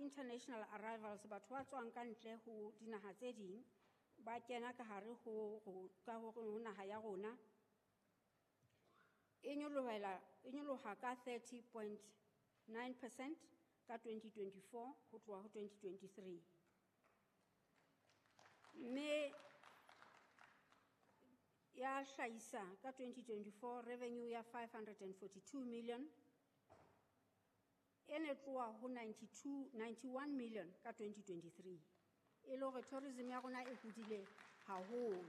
international arrivals, batho ba tswang ka ntle ho dinaha tse ding ba kena ka hare ka ho naha ya rona, e nyoloha ka 30.9% ka 2024 ho tloha ho 2023. Mme ya hlahisa ka 2024 revenue ya 542 million, e ne tloha ho 91 million ka 2023. E le hore tourism ya rona e hodile haholo.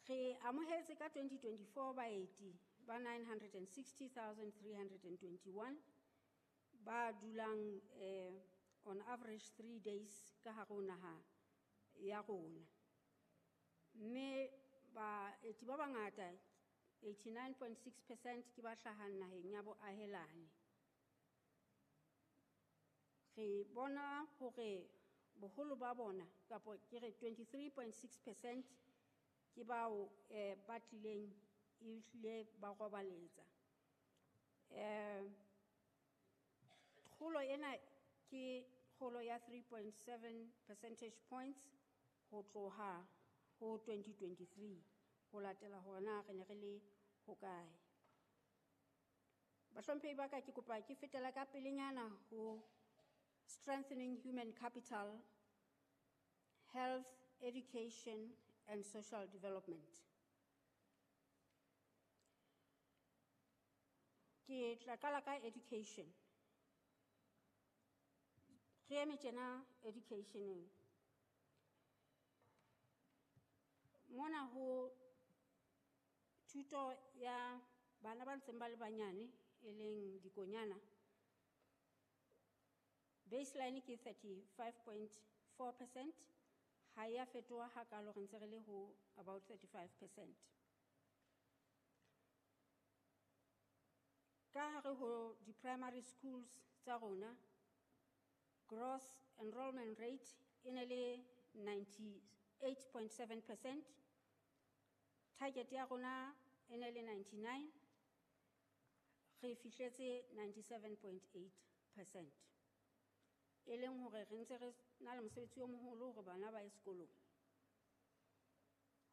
Re amohetse ka 2024 baeti ba 960,321 ba dulang on average 3 days ka hare ho naha ya rona. Mme baeti ba bangata 89.6% ke ba hlahang naheng ya boahelani. Re bona hore boholo ba bona, kapa ke re 23.6% ke bao ba tlileng ehlile ba robaletsa. Kgolo ena ke kgolo ya 3.7 percentage points ho tloha ho 2023, ho latela hore na re ne re le hokae. Bahlomphehi ba ka, ke kopa ke fetela ka pelenyana ho strengthening human capital, health, education and social development. Ke tla qala ka education. Re eme tjena educationeng. Mona ho thuto ya bana ba ntseng ba le banyane, e leng dikonyana, baseline ke 35.4%, ha ya fetoha hakalo, re ntse re le ho about 35%. Ka hare ho di-primary schools tsa rona, gross enrollment rate e ne le 98.7%, target ya rona e ne le 99, re fihletse 97.8%. E leng hore re ntse re na le mosebetsi o moholo hore bana ba ye sekolong.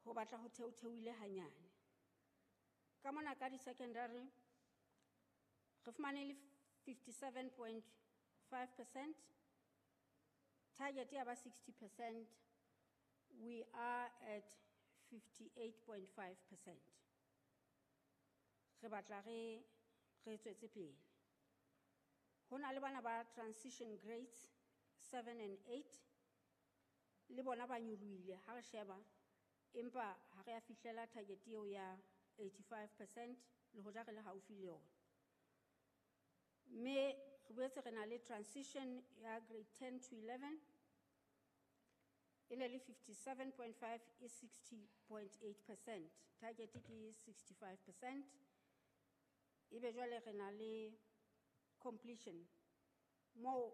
Ho batla ho theotheoile hanyane. Ka mona ka di-secondary, re fumane le 57.5%, target ya ba 60%, we are at 58.5%. Re batla re tswetse pele. Ho na le bana ba transition grades 7 and 8, le bona ba nyolohile ha re sheba, empa ha re a fihlela target eo ya 85% le hoja re le haufi le yona. Mme re boetse re na le transition ya grade 10 to 11, e ne le 57.5 e 60.8%, target ke 65%. Ebe jwale re na le completion moo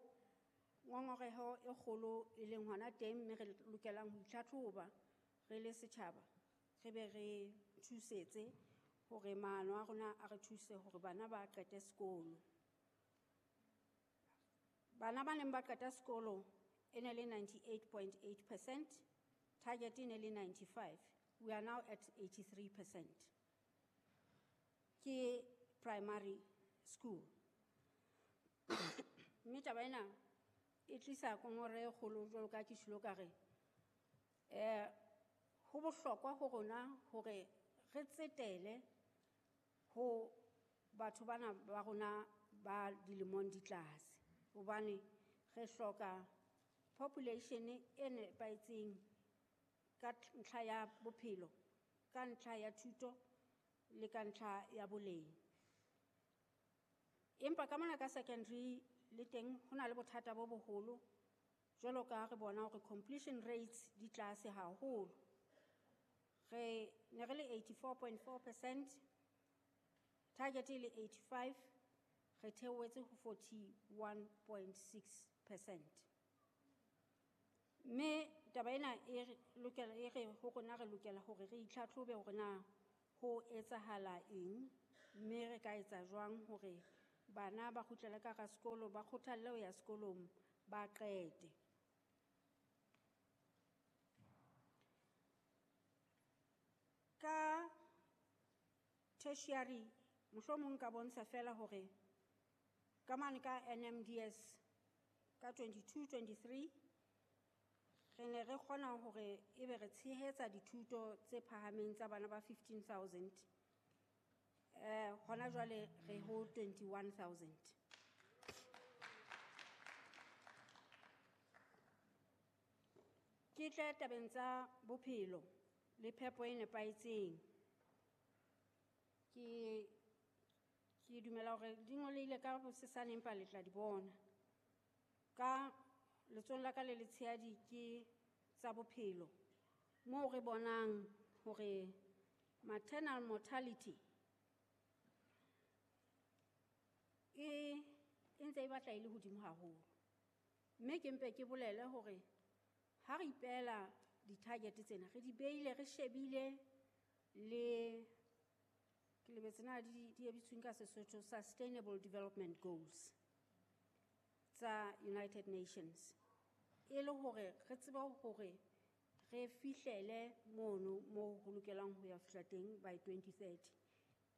ngongoreho e kgolo e leng hona teng, mme re lokelang ho itlhatlhoba re le setjhaba, re be re thusetse hore maano a rona a re thuse hore bana ba qete sekolo. Bana ba neng ba qeta sekolo e ne le 98.8%, target e ne le 95, we are now at 83%. Ke primary school. Mme taba ena e tlisa kongore e kgolo jwalo ka ke tjholo ka re, ho bohlokwa ho rona hore re tsetele ho batho bana ba rona ba dilemong di tlase, hobane re hloka population e nepahetseng ka ntlha ya bophelo, ka ntlha ya thuto le ka ntlha ya boleng. Empa ka mona ka secondary le teng ho na le bothata bo boholo, jwalo ka re bona hore completion rates di tlase haholo. Re ne re le 84.4%, target e le 85, re theohetse ho 41.6%. Mme taba ena e re lokela, e re ho rona re lokela hore re itlhatlhobe hore na ho etsahala eng, mme re ka etsa jwang hore Bana ba kgutlele ka hara sekolo, ba kgothalle ho ya sekolong, ba qete. Ka tertiary, mohlomong nka bontsha fela hore ka mane ka NMDS ka 22-23 re ne re kgona hore ebe re tshehetsa dithuto tse phahameng tsa bana ba 15,000. Hona jwale re ho 21,000. Ke tle tabeng tsa bophelo le phepo e nepahetseng. Ke dumela hore di ngolehile ka bosesane empa le tla di bona. Ka letsohong la ka le letshehadi ke tsa bophelo, moo re bonang hore maternal mortality e ntse e batla e le hodimo haholo. Mme ke mpe ke bolele hore ha re ipehela di-target tsena, re di beile re shebile le ke lebetse na di bitsweng ka Sesotho Sustainable Development Goals tsa United Nations, e le hore re tsebe hore re fihlele mono mo ho lokelang ho ya fihla teng by 2030.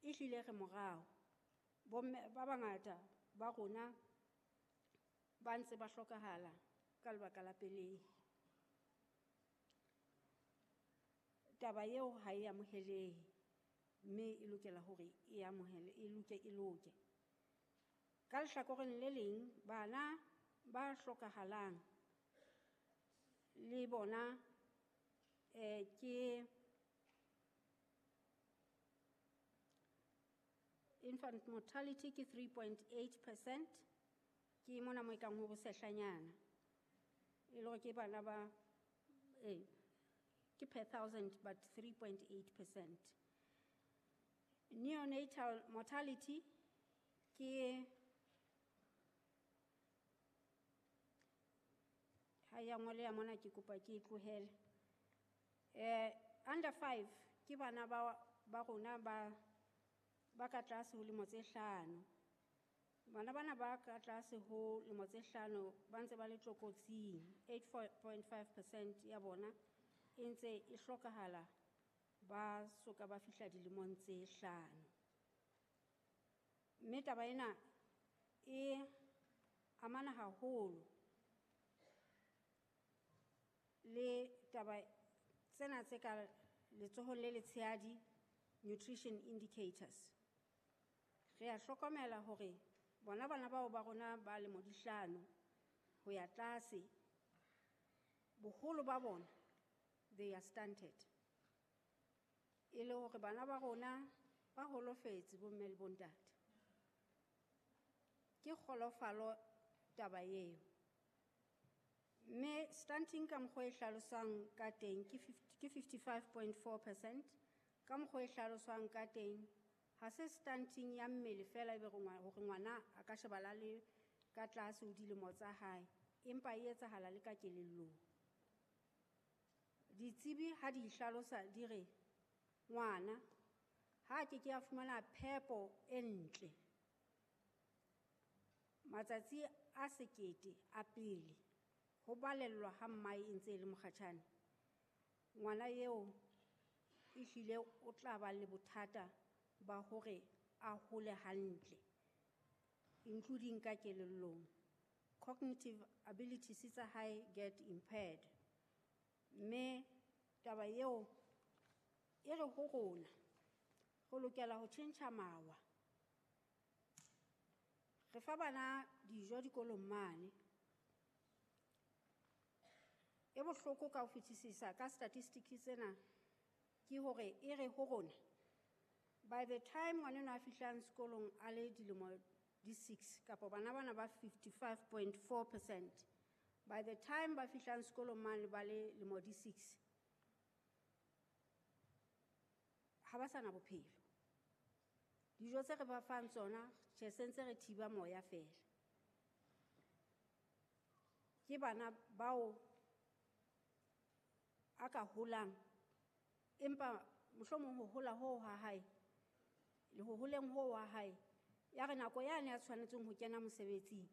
Ehlile re morao, bomme ba bangata ba rona ba ntse ba hlokahala ka lebaka la pelehi. Taba eo ha e amohelehe, mme e lokela hore e amohele, e loke, e loke. Ka lehlakoreng le leng, bana ba hlokahalang le bona ke infant mortality ke 3.8%, ke mona mo e kang ho bosehlanyana. E le hore ke bana ba, ke per thousand but 3.8%. Neonatal mortality ke ha ya ngoleha mona ke kopa ke e tlohele. Under 5 ke bana ba rona ba ka tlase ho lemo tse hlano. Bana bana ba ka tlase ho lemo tse hlano ba ntse ba le tlokotsing, 8.5% ya bona e ntse e hlokahala ba soka ba fihla dilemong tse hlano. Mme taba ena e amana haholo le taba tsena tse ka letsohong le letshehadi, nutrition indicators. Re a hlokomela hore bona bana bao ba rona ba lemo di hlano ho ya tlase, boholo ba bona they are stunted. E le hore bana ba rona ba holofetse bomme le bontate. Ke kgolofalo taba eo. Mme stunting ka mokgwa e hlaloswang ka teng ke 55.4%, ka mokgwa e hlaloswang ka teng ha se stunting ya mmele fela ebe hore ngwana a ka shebala le ka tlase ho dilemo tsa hae, empa e etsahala le ka kelellong. Ditsebi ha di hlalosa di re ngwana ha ke ke a fumana phepo e ntle matsatsi a sekete a pele ho balellwa ha mmae e ntse e le mokgatjhane, ngwana eo ehlile o tla ba le bothata ba hore a hole hantle, including ka kelellong. Cognitive abilities tsa hae get impaired. Mme taba eo e re ho rona re lokela ho tjhentjha mawa. Re fa bana dijo dikolong mane. E bohloko ka ho fetisisa ka statistics tsena ke hore e re ho rona by the time ngwana a fihlang sekolong a le dilemo di 6 kapa bana bana ba 55.4%, by the time ba fihlang sekolong mane ba le lemo di 6, ha ba sana bophelo. Dijo tse re ba fang tsona, tjhe, se ntse re thiba moya fela. Ke bana bao a ka holang, empa mohlomong ho hola hoo ha hae, le ho holeng hoo ha hae, Ya re nako yane ya tshwanetseng ho kena mosebetsing.